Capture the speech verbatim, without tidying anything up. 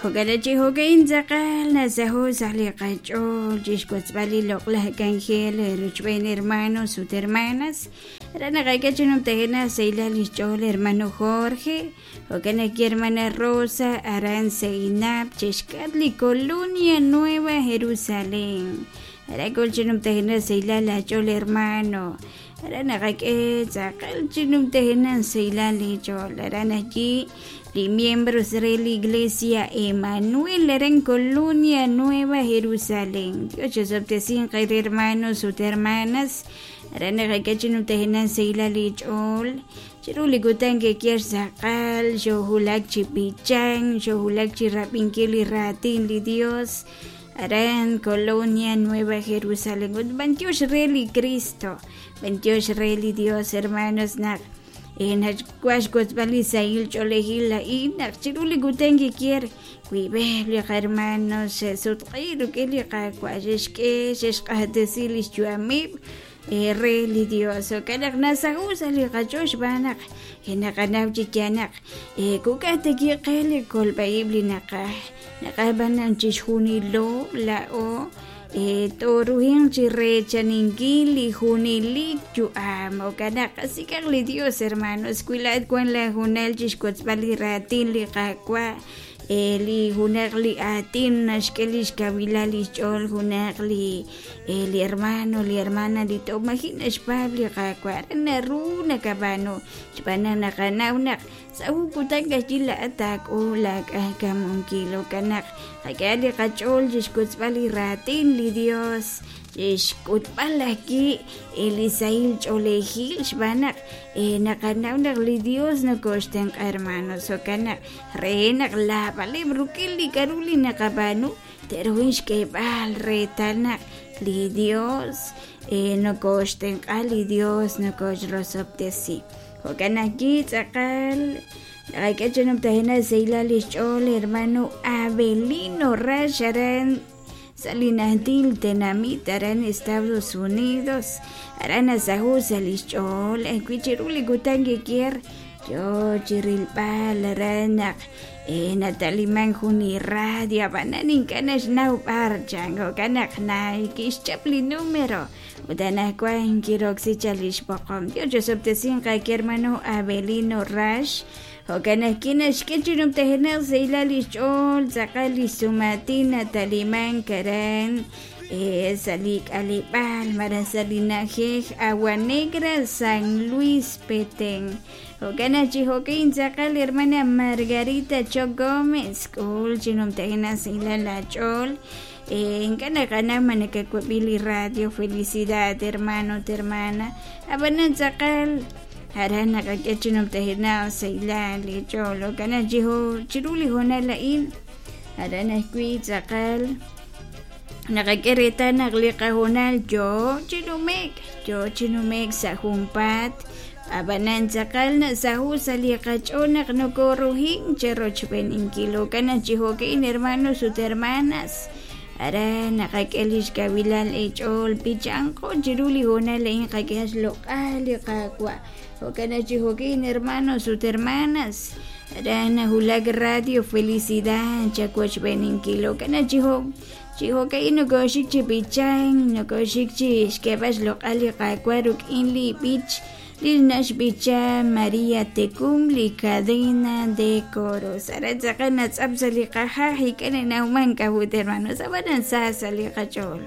Jo'kan chi jo'kan tz'aqal nasaho' sa' li qach'ool chixwotzb'al li loq'laj k'anjel rochb'een hermanos ut hermanas. Aran naqak'e chi numtajenaq sahilal lix ch'ool hermano Jorge, jo'kan ajwi' hermana Rosa aran Seinap chixk'atq li Colonia Nueva Jerusalén. Aran k'ol chi numtajenaq sahilal aach'ool hermano. Aran naqak'e tz'aqal chi numtajenaq sahilal li ch'ool. Aran ajwi' li miembros de la Iglesia Emanuel aran Colonia Nueva Jerusalén. Dios chixob'tesinq hermanos ut hermanas. Aran naqak'e chi numtajenaq sahilal li ch'ool. Chiru li kutan kekier tz'aqal, xojulak chi b'ichan, xojulak chi rab'inkil li raatin li Dios. Aran Colonia Nueva Jerusalén. Ut b'antiox re li Cristo, b'antiox re li Dios, hermanos, naq nachwaj xwotzb'al li sahil ch'oolejil a'in naq chiru li kutan kikier wiib'eb' li qahermanos xe'sutq'i rik'in li Qaawa' xe'xk'e xe'xq'axtesi li xyu'ameb' re li Dios. Jo'kan naq nasaho' sa' li qach'ool xb'aan naq naqanaw chi yaal naq kuk'aj teki qe li kolb'a'ib' li naqaj naqaj b'an chixjunilo la'o toruhin chi rechaninkil li junelik yu'am. Jo'kan naq qasik'aq li Dios, hermanos, wi laa'at wan la junal chixwotzb'al li raatin li Qaawa', li junaq li aatin naxk'e lix kawilal lix ch'ool junaq li li hermano, li hermana li to'majin naxpaab' li Qaawa'. Aran naru nakab'aanu xb'aan naq naqanaw naq sa' jun kutan k'axyi laa'at taak'ul laak'ajkamunkil. Jo'kan naq qak'ehaq li qach'ool chixwotzb'al li raatin li Dios, chixk'utb'al ajwi' li sahil ch'oolejil xb'aan naq naqanaw naq li Dios nokoxtenq'a, hermanos. Jo'kan naq re naq laab'aleb' rik'in li k'a'ru li naqab'aanu te'ruhin xk'eeb'al reetal naq li Dios nokoxtenq'a, li Dios nokoxrosob'tesi. Jo'kan ajwi' tz'aqal naqak'e chi numtajenaq sahilal lix ch'ool hermano Abelino Rax aran sa' li najtil tenamit aran Estados Unidos. Aran nasaho' sa' lix ch'ool ajwi' chiru li kutan kikier yo chi rilb'al aran naq nataliman jun li radio ab'anan ink'a' naxnaw b'ar chan. Jo'kan naq kixchap li número ut anaqwan kiroksi chal lix b'oqom. Dios chixob'tesinq qake hermano Abelino Rax. Jo'kan ajwi' naxk'e chi numtajenaq sahilal lix ch'ool tz'aqal lix sumatin nataliman aran sa' li k'aleb'aal malaj sa' li na'ajej Agua Negra, San Luis, Petén. Jo'kan aj chi jo'kan tz'aqal hermana Margarita Cho Gómez k'ul chi numtajenaq sahilal aach'ool. Ink'a' naqanaw ma nakawab'i li radio Felicidad, hermano ut hermana. Ab'anan tz'aqal aran naqak'e chi numtajenaq sahilal li ch'ool. Jo'kan aj chi chiru li hoonal a'in aran ajwi' tz'aqal naqak'e reetal naq li qahoonal yo chi nume'k, yo chi nume'k sa' junpaat. Ab'anan tz'aqal nasaho' sa' li qach'ool naq nokoruhin cherochb'eninkil. Jo'kan aj chi jo'kan hermanos ut hermanas, aran naqak'e lix kawilal eech'ool b'ichanqo chiru li hoonal a'in qak'e xloq'al li Qaawa'. Jo'kan aj chi jo'kan hermanos ut hermanas, aran najulak Radio Felicidad chawochb'eninkil. Jo'kan aj chi jo' chi jo'kan nokoxik chi b'ichan, nokoxik chi xk'eeb'al xloq'al li Qaawa' rik'in li b'ich li naxb'icha María Tecum li cadena de coros. Aran tz'aqal natz'ap sa' li qajaj ik'an nanawman k'a'ut hermanos, ab'anan sa sa' li qach'ool.